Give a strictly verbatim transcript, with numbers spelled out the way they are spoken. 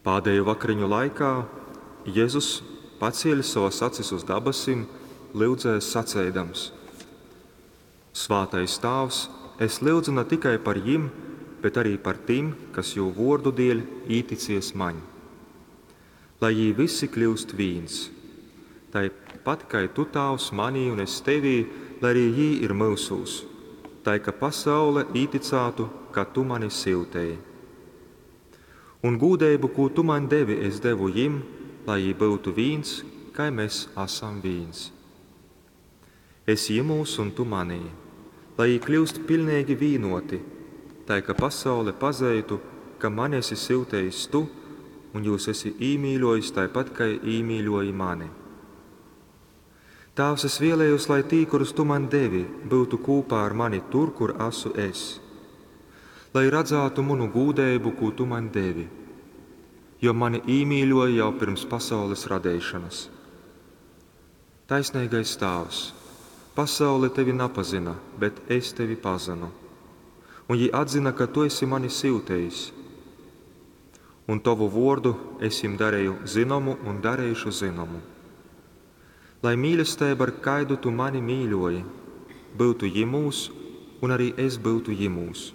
Pādēju vakariņu laikā Jezus, pacielis sovas acis uz dabasim, lyudzēs saceidams: Svātais Tāvs, es lyudzu na tikai par jim, bet arī par tim, kas jū vuordu dieļ īticies maņ. Lai jī vysi kļūst vīns. Taipat kai tu, Tāvs, manī un es tevī, lai arī jī ir myusūs, tai ka pasaule īticātu, ka tu mani syutēji. Un gūdeibu, kū tu maņ devi, es devu jim, lai jī byutu vīns, kai mēs asam vīns. Es jimūs un tu manī, lai jī kļūst piļneigi vīnoti, tai ka pasaule pazeitu, ka mani esi syutējis tu un jūs esi īmīļojis taipat, kai īmīļoji mani. Tāvs, es vēlējos, lai tī, kurus tu man devi, byutu kūpā ar mani tur, kur asu es. Lai radzātu munu gūdeibu, kū tu man devi, jo mani īmīļoji jau pirms pasaules radeišanas. Taisnīgais Tāvs, pasaule tevi napazina, bet es tevi pazinu. Un jī atzina, ka tu esi mani syutējis. Un tovu vuordu es jim dareju zinomu un dareišu zinomu. Lai mīlestība, ar kaidu tu mani mīļoji, byutu jimūs, un arī es byutu jimūs.